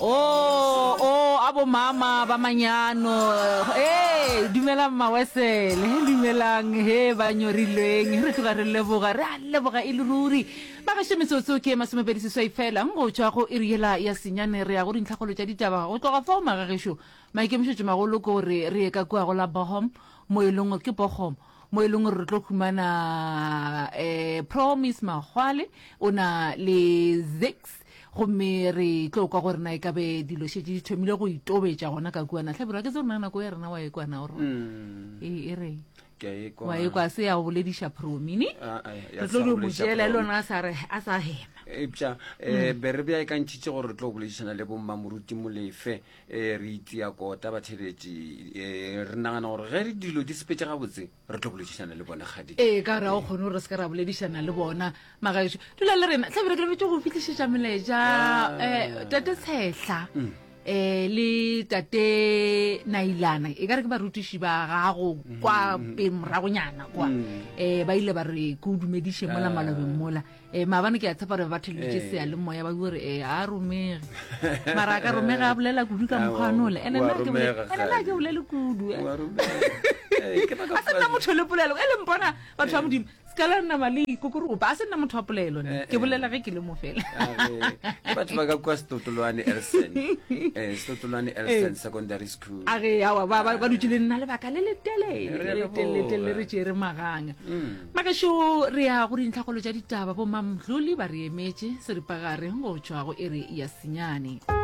O, o, a bo mama ba manyano. Ee, dumelang mawesele, dumelang he ba nyorilweng. Re tloga re leboga, re a leboga e le ruri. Bagešo metsotso ke 28 fela go tšwa go iri yela ya senyane re ya go dintlhakgolo tša ditaba. Go tloga fao magagešo, maikemišetšo magolo ke gore re ye ka kua go la Bochum, mo e leng gore ke Bochum, mo e leng gore re tlo humana um Promise Makgwale o na le Zix gomme re tlo kwa gore na e ka be dilo šetše di thomile go itobetša gona ka kua na hlabirwa ke tse rona nako ya rena wa e kwana gore mm. e, e reng wa e kwa se ya go bolediša promini ah, ah, re tlo di mo tšeela e le ona a sa hema eupša um be re bja e ka ntšhitše gore re tlo boledišana le bommamoruti molefe um re itia kota batheletši um re nagana gore ge re dilo di sepetse gabotse re tlo boledišana le bona kgadi ee ka gore ga o kgone gore re se ka ra boledišana le bona magaešo dula le rena tlabere ke lebetse go fihlišetša melaetša um tate tshehla um le tate nailana e ka re ke barutiši ba gago kwa pe moragonyana kwa um ba ile ba re ke o dumediše mola malobeng mola um maabane ke a tshepa gore ba theleditše eh. seyalemoya ba gore e a romege mara a ka romege a bolela kudu ka mokgwanole ene nna ke bolele kudu eh. a se nna motho le polelo e le mpona batho ba modimo se ka la nama le ikokoropa a se nna motho wa polelo ne ke bolela ge ke le mo fela ke batho ba ka kua setotolwane elson setotolwane elson secondary school a ge awa ba dutse le nna lebaka le letelele re tšere maganga mm. Magešo re ya go dintlhakgolo tša ditaba, bo Mamdluli ba re emetše seripagare go tšwa go iri ya senyane.